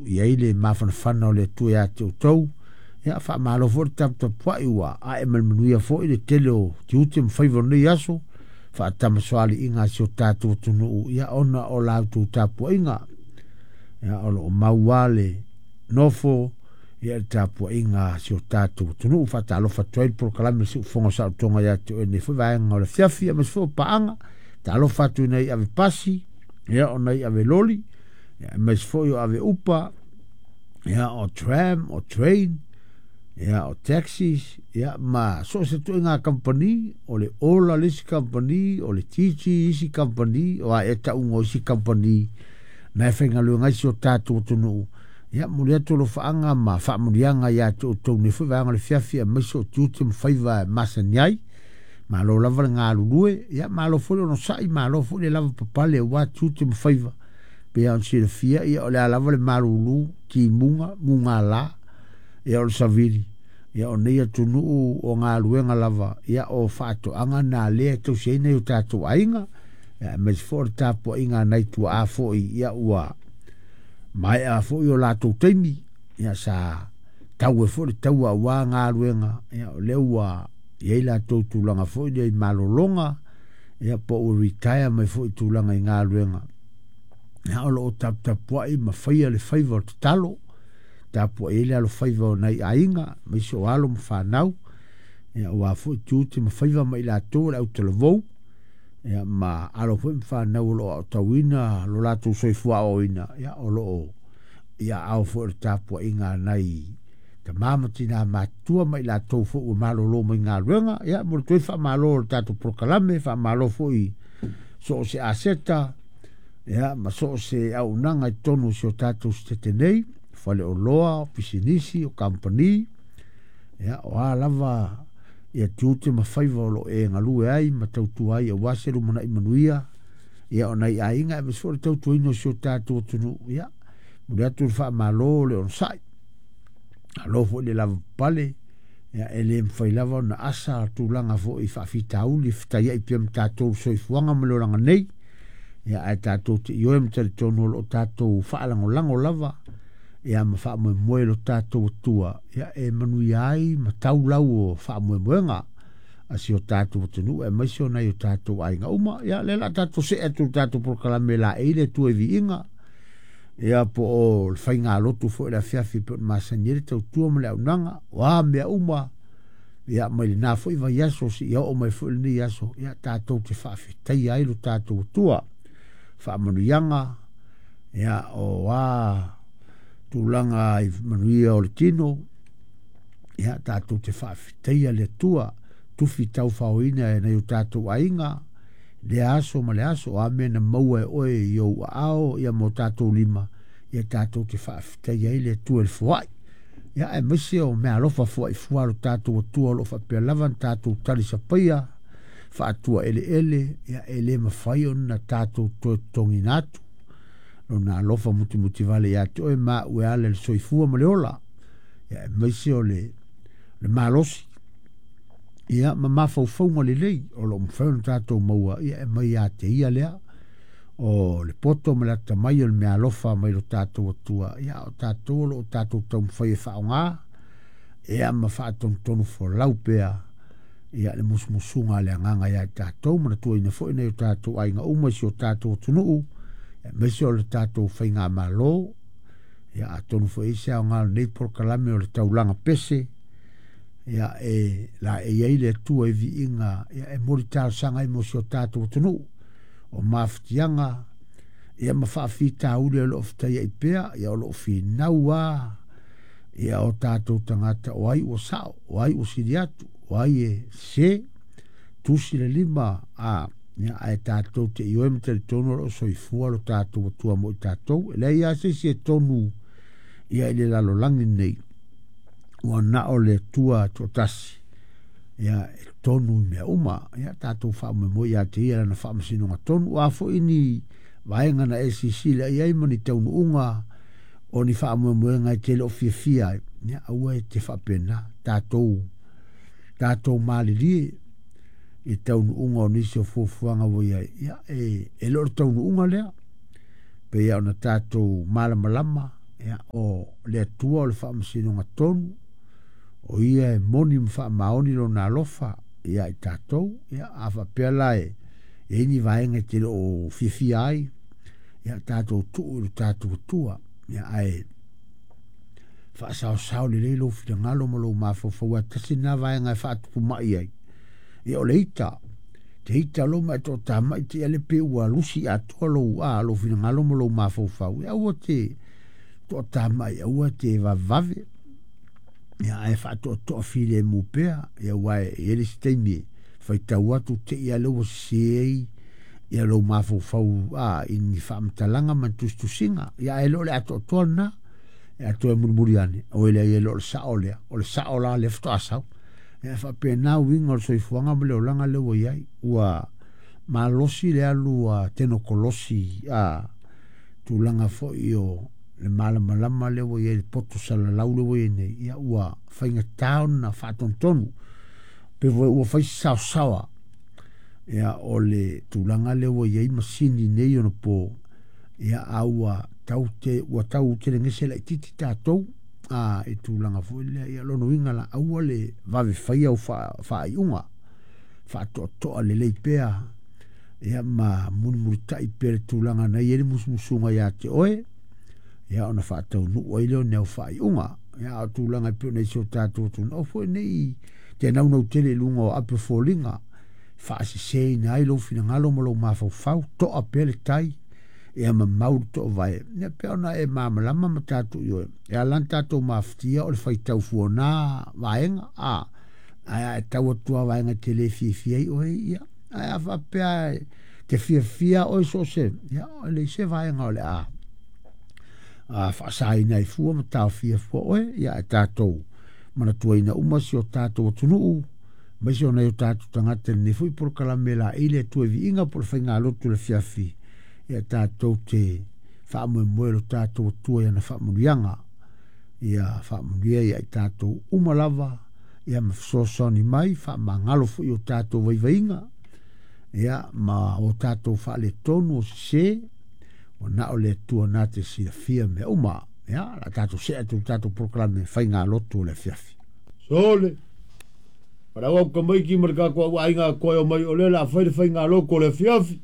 I ai le mafanafana o le Atua ia te outou. Ia, faamalo foi le taputapuai ua ae ma le manuia foi le tele o tiute ma faiva o lenei aso, faatamasoaliiga a si o tatou atunuu, ia ona o la outou tapuaiga. Ia, o lo o mau lava le nofo ia le tapuaiga a si o tatou atunuu. Faatalofa atu ai le polokalame o le Siufofoga o Saolotoga ia te oe i lenei foi vaega o le afiafi, aemaise foi o paaga. Talofa atu i nai ave pasi, ia o nai ave loli, ia aemaise foi o ave upa, ia o tram, o train, ia o taxis, ia ma so o se ituaiga kamupani, o le Ola le isi kamupani, o le TG isi kamupani, o a ea tauga o isi kamupani na e faigaluega ai si o tatou atunuu. Ia, momoli atu alofaaga ma faamanuiaga ia te outou nei foi vaega o le fiafi, aemaise o tiute ma faiva e masani ai. Malo lava le galulue, ia malo foi le onosai, malo foi le lavapapale aua tiute ma faiva. Pei ona silafia, ia o le a lava le malulu, timuga, mugala, ia o le savili, ia o nei atunuu o galuega lava, ia o faatoaga na lea e tausi ai nai o tatou aiga, ia aemaise foi o le tapuaiga a nai tuaa foi, ia ua maea foi o latou taimi, ia sa tau ai foi le taua aua galuega, ia o lea ua i ai latou tulaga foi lea i malologa, ia po ua retire mai foi i tulaga i galuega. Ia, o lo o taputapuai ma faia le faiva o le tatalo, tapuai ai le alofaiva o nai aiga, aemaise o alo ma fanau, ia aua foi tiute ma faiva ma i latou o le autalavou, ia ma alo foi ma fanau o lo o aotauina lo latou soifua aoaoina, ia o lo o i aao foi o le tapuaiga a nai tama ma tina matutua ma i latou foi ua malolo mai galuega. Ia, momoli atu ai le faamalo o le tatou polokalame, faamalo foi so o se aseta, ia ma so o se auaunaga i totonu o si o tatou setete nei, faleoloa, o pisinisi, o kamupani, ia o a lava ia tiute ma faiva o lo o e galue ai ma tautua ai aua se lumanai manuia, ia o nai aiga aemaise foi o le tautuaina o si o tatou atunuu. Ia, momoli atu le faamalo o le onosai, malo foi le lavapapale. Ia, e le mafai lava ona asa tulaga foi faafitauli e fetaiai pea ma tatou le soifuaga ma le olaga nei. Ia, ae tatou te ioe ma talitonu o lo o tatou faalagolago lava, ia ma faamoemoe lo tatou Atua, ia e manuia ai ma tau lau o faamoemoega a si o tatou atunuu aemaise o nai o tatou aiga uma. Ia, lea o le a tatou see atu i le tatou polokalame laei le Atua i viiga, ia po o le faigalotu foi o le afiafi pei ona masani ai le tautua ma le auaunaga, o a mea uma, ia mai lena foi vaiaso seia oo mai foi lenei aso, ia tatou te faafetaia ai lo tatou Atua. Faamanuiaga, ia o a tulaga i manuia o le tino, ia tatou te faafetaia le Atua, tufi taufaoina e nai o tatou aiga, lea aso ma le aso, o a mea na maua e oe i ou aao, ia ma o tatou lima, ia tatou te faafetaia ai le Atua i le foai. Ia, aemaise o meaalofa foai fua a lo tatou Atua o lo o faapea lava ona tatou talisapaia faatua eleele, ia e le mafai ona tatou toe totogiina atu lona alofa mutimutivale ia te oe ma au e ala i le soifua ma le ola, ia aemaise o le malosi, ia ma mafaufauga lelei o lo o mafai ona tatou maua, ia e mai ia te ia lea o le poto ma le atamai o le meaalofa mai lo tatou Atua. Ia o tatou o lo o tatou taumafai e faaaoga, ia ma faatonutonu folau pea ia le musumusuga a le Agaga ia i tatou, manatuaina foi nai o tatou aiga uma i si o tatou atunuu, aemaise o le tatou faigamalo. Ia, atonu foi e i ai se aoga o lenei polokalame o le taulaga pese, ia e laei ai le Atua i viiga, ia e momoli talosaga ai mo si o tatou atunuu, o mafatiaga, ia ma faafitauli o lo o fetaiai pea, ia o lo o finau lava ia o tatou tagata o ai ua sao, o ai ua sili atu, o ai e sese, tusi le lima a, ia, ae tatou te ioe ma talitonu o lo o soifua lo tatou Atua mo i tatou. E leai lava se isi e tonu ia i le lalolagi lenei, ua na o le Atua toatasi, ia e tonu i mea uma. Ia tatou faamoemoe ia te ia lana faamasinoga tonu. O a foi ni vaega na e silasila i ai ma ni taunuuga o ni faamoemoega e te le o fiafia ai, ia aua e te faapena, tatou malilie i taunuuga o nisi o fuafuaga ua i ai. Ia e le o le taunuuga lea, pei ona tatou malamalama. Ia, o le Atua o le faamasinoga tonu, o ia e moni ma faamaoni lona alofa ia i tatou. Ia, a faapea la e i ai ni vaega e te le o fiafia ai, ia tatou tuu i lo tatou Atua. Ia, ae faasaosao lelei lou finagalo ma lou mafaufau, aua tasi lena vaega e faatupu mai ai. Ia, o le ita, te ita loa ma e toatamai te i ale pe ua lusi atoa lou, a, lou finagalo ma lou mafaufau. Ia, aua te toatamai, aua te vavevave. Ia, ae faatoatoa filemu pea. Ia, aua e i ai le isi taimi e faitau atu te i ale ua sese ai ia lou mafaufau a, i ni faamatalaga ma ni tusitusiga. Ia, ae le o le atoatoa lena. E atoa e mulimuli ane, oi leai e le o le sao lea, o le sao la lea faatoa sau. Ia, e faapena uiga o le soifuaga ma le olaga lea ua i ai. Ua malosi le alu a tenokolosi a tulaga foi o le malamalama lea ua i ai le poto salalau lea ua i ai nei. Ia, ua faigata ona faatonutonu pe foi ua fai se saosaoa. Ia, o le tulaga lea ua i ai masini nei ona po. Ia, a ua tau te, ua tau telegese laitiiti tatou a i tulaga foi lea. Ia, lona uiga la, aua le vave faia au faaiuga, faatoatoa lelei pea. Ia, ma mulimulitai pea le tulaga na i ai le musumusuga ia te oe. Ia, ona faataunuu ai lea o ni au faaiuga. Ia, a o tulaga e pei ona i si o tatou atunuu foi nei, te naunau tele i luga o ape o foliga, faaseseina ai lou finagalo ma lou mafaufau, toa pea le tai, ia mamau le toovae. Ia, pei ona e malamalama ma tatou ioe, e ala ona tatou mafatia o le faitau fuana vaega, a, ae a e tau atu lava vaega e te le fiafia ai oe, ia, ae a faapea te fiafia oe so o se, ia, e leai se vaega o le a faasaina ai fua ma taofia fua oe. Ia, ae tatou manatuaina uma si o tatou atunuu, aemaise o nai o tatou tagata i lenei foi polokalame laei le Atua i viiga po o le faigalotu i le afiafi. Ia, tatou te faamoemoe lo tatou Atua i ana faamanuiaga. Ia faamanuia ia i tatou uma lava, ia ma fesoasoani mai, faamagalo foi o tatou vaivaiga, ia, ma o tatou faaletonu o sese, ua na o le Atua na te silafia mea uma. Ia, la tatou see atu i le tatou polokalame faigalotu o le afiafi. Sole, palau au kamaiki ma le tatou au aiga koe o mai o le la fai le faigalotu o le afiafi.